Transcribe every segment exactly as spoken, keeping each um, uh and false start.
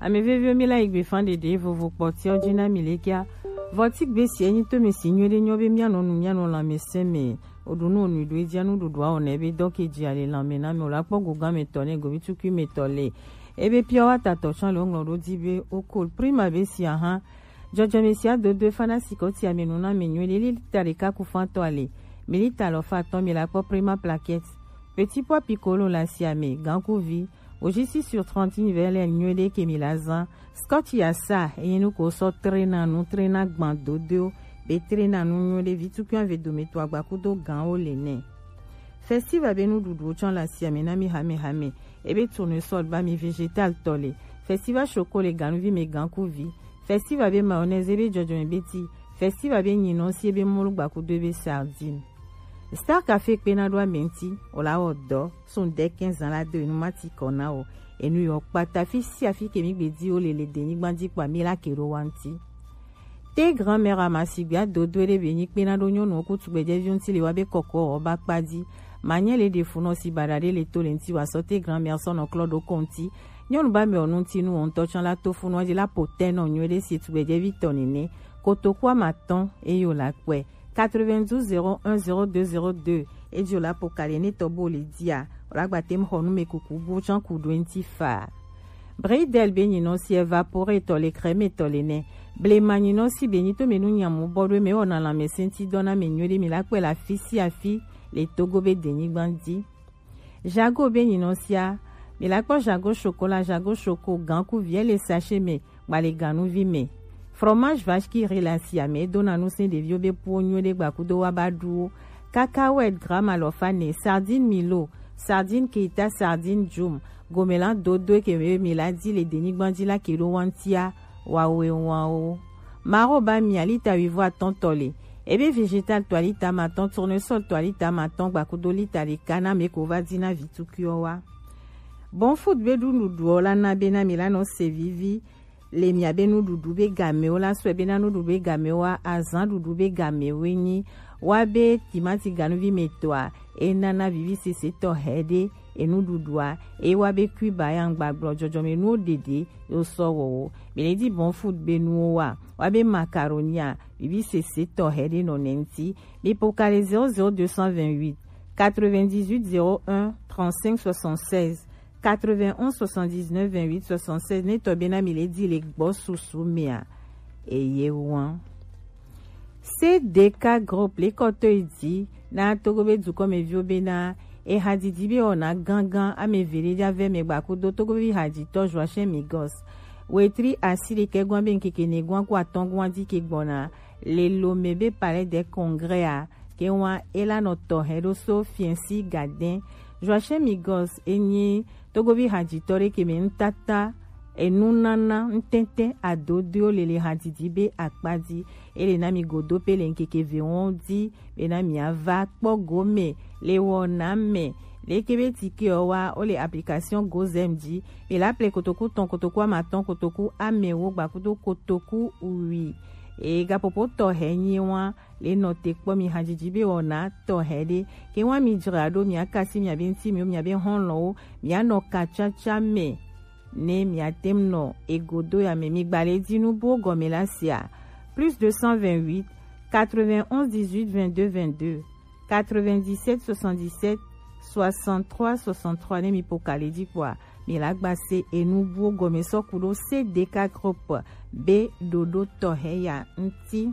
Ame veviwo, mi la yi gbe fan ɖeɖe vovo kpɔtiɔ ji na mi lekia. Vɔ ti gbe si enyi to mi si nyuie ɖe nyɔ be mianɔ nu mianɔ lãmesẽ me. Oɖu nu onui ɖo edzia nuɖuɖua o ne be dɔ ke dzi ale lãme na me o la kpɔ gogan me tɔ ne govi tukui me tɔ le. Ebe pure water tɔ tsã le woŋlɔ ɖo di be o kol prima be si aha. Jɔjɔme sia dodo fana si kɔ ti ame nu na me nyuie ɖe lita ɖeka ku fan tɔ ale. Mi lita lɔ fa tɔ mi la kpɔ prima plaquette. Petit pois piccolo la si ame gankuvi. Ojisi sur trente univers le nyuie ɖe ke mi la zã. Scotch ya sa enyi nu ko sɔ trena nu trena gban dodo be trena nu nyuie ɖe vi tukui ave dome to agba kudo gan o le ne. Festival be nuɖuɖuwo tsɔ le asiame na mi hamehame. Ebe tournesol ba mi vegetal tɔ le. Festival choco le ganuvi me gankuvi. Festival be mayonnaise ebe jɔjɔme be ti. Festival be nyinɔ si ebe molu gbakudo ebe sardine. Star Café kpena ɖo ame ŋuti, o la wɔ dɔ, sun ɖe quinze ans la do enu mati kɔ na o. Enu yɔ kpata fi sia fi ke mi gbe di o le le denyigba di kpa mi la ke ɖo wa ŋuti. Te grand-mère amasigbe adodo ɖe be nyi kpena ɖo nyɔnuwo ku tugbedzɛviwo ŋuti le wa be kɔkɔ ɔ ba kpa di. Manyɛ le ɖe funɔ si baɖa ɖe le to le ŋuti wa sɔ te grand-mère sɔ nɔ klɔ ɖo kɔ ŋuti. Nyɔnu ba mɛ ɔ nu ŋuti nu wɔ ŋutɔ tsɔ la to funɔ di la po tɛ nɔ nyuie ɖe si tugbedzɛvi tɔ nene. Kotoku amatɔn eyo la kpɛ. Quatre-vingt-douze zéro un zéro deux zéro deux. Ejo la po kali ne tɔ bo le dia. O la gba tem xɔ nu me kuku bu tsɔ ku ɖo ŋuti fa. Bridel be nyinɔ si evapore tɔ le crème tɔ le nɛ. Blema nyinɔ si be nyi to me nu nyamu bɔ ɖo me wɔna lãmesẽ ti dɔ na me nyuie ɖe mi la kpɛ la fi si afi le Togo be denyigba di. Jago be nyinɔ sia. Mi la kpɔ jago chocolat, jago choco, ganku viɛ le sachet me, gba le ganuvi me. Fromage vache qui rit la si ame dona nu se ɖeviwo be puwo nyuie ɖe gbakudo wa ba ɖuwo. Cacahuète gramme alɔfa ne, sardine milo, sardine kita, sardine jum. Gomela dodo ke me mi la di le denyigba di la ke ɖo wantia, wawe wan o. Maro ba mi alita wivo atɔn tɔ le. Ebe vegetal to alita matɔn, tournesol to alita matɔn, gbakudo lita ɖeka na me ko va di na vi tukuiwo wa. Bon food be ɖu nuɖuɖuɔ la na be na mi la nɔ se vivi. Le miabe nuɖuɖu be gamewo la sɔe be na nuɖuɖu be gamewo wa, azã ɖuɖu be gamewoe nyi. Wa be timati ganuvi me tɔa, e nana vivi sese tɔ hɛ ɖe enuɖuɖua, e wa be kui ba ya ŋgba gblɔ jɔjɔme nuwo ɖeɖe yo sɔ wɔwo. Mi le di bon food be nuwo wa, wa be macaroni a, vivi sese tɔ hɛ ɖe nɔ nɛ ŋuti. Mi po kali zéro zéro deux cent vingt-huit, quatre-vingt-dix-huit zéro un, trente-cinq soixante-seize, quatre-vingt-onze soixante-dix-neuf vingt-huit soixante-seize, ne tɔ be na mi le di le gbɔ susu mea. Eye wan. C D K groupe le kɔtɔ yi di na Togo be dukɔmeviwo be na e hadidi be wɔna gangan ame eve ɖe ɖa vɛ me gbakudo Togo be haditɔ Joachim Migos. Wetri asi ɖekɛ gwan be ŋkeke ne gwan ku atɔn gwan di ke gbɔna le Lomé be Palais des Congrès a, ke wan e la nɔ tɔ hɛ ɖo so fiɛnsi gadɛn. Joachim Migos e nyi Togovi hajitɔ ɖe ke mɛ nutata, enunana, nutɛntɛ, adodoewo le le hajiji be akpa ji. E le na mi godo pe le ŋkeke ve wɔn ji be na mi ava kpɔ gome le wɔna mɛ. Leke be tike ɔ wa, wo le application Gozem ji. Mi la ple kotoku tɔn, kotoku amatɔn, kotoku amɛwo gbakudo kotoku wi. E gapopo tɔ hɛ nyi wa le nɔ te kpɔ mi hajiji be wɔna tɔ hɛ ɖe. Ke wa mi jra ɖo mi akasi mi abe ŋti mi mi abe hɔn lɔ wo mi anɔ katsatsa mɛ. Ne mi atem nɔ egodo ya mɛ mi gba le di nu bo gɔme la sia. Plus deux cent vingt-huit, quatre-vingt-onze, dix-huit, vingt-deux, vingt-deux, quatre-vingt-dix-sept, soixante-dix-sept, soixante-trois, soixante-trois, ne mi po kali di kpɔa, mi la gba se enu buwo gɔme sɔ ku ɖo C D K groupe be ɖoɖo tɔ hɛ ya ŋti.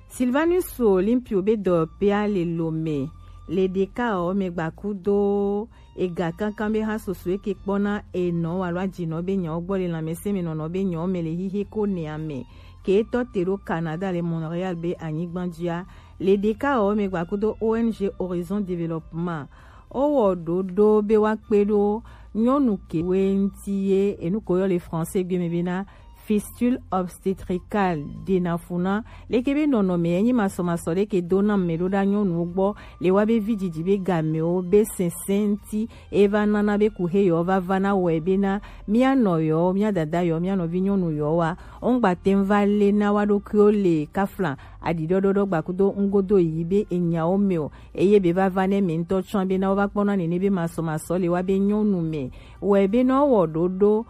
Sylvanus Olympio be dɔyɔkpea le Lomé le ɖeka ɔ mɛ gbakudo ega kankan be ha soso eke kpɔna enɔ alo ajinɔ be nyawo gbɔ le lanmɛsɛn me nɔnɔ be nyawo mɛ le hihe ko nɛ amɛ ke etɔ te ɖo Canada le Montréal be anyigba jia. Le ɖeka ɔ mɛ gbakudo O N G Horizon Développement. Wo wɔ ɖoɖo be woakpe ɖo nyɔnu kewoe ŋuti ye enu ko yɔ le français gbe me bena fistule obstétricale, ɖena fu na. Leke be nɔnɔme enyi masɔmasɔ ɖe ke do na mɛ ɖo ɖa nyɔnuwo gbɔ le wa be vi didi be gamewo be sɛnsɛn ŋuti e va nana be ku he yɔ va va na wɔe bena mia nɔ yɔ, mia dada yɔ, mia nɔvi nyɔnu yɔ wa. Wo ŋgba te ŋu va le na wa ɖokuiwo le kafla aɖiɖɔɖɔɖɔ gbakudo ŋgodo yi be enyawo mɛ o. Eye be va va ne mɛ ŋutɔ tsɔ be na wo va kpɔna nene be masɔmasɔ le wa be nyɔnu mɛ. Wɔe be na wɔ ɖoɖo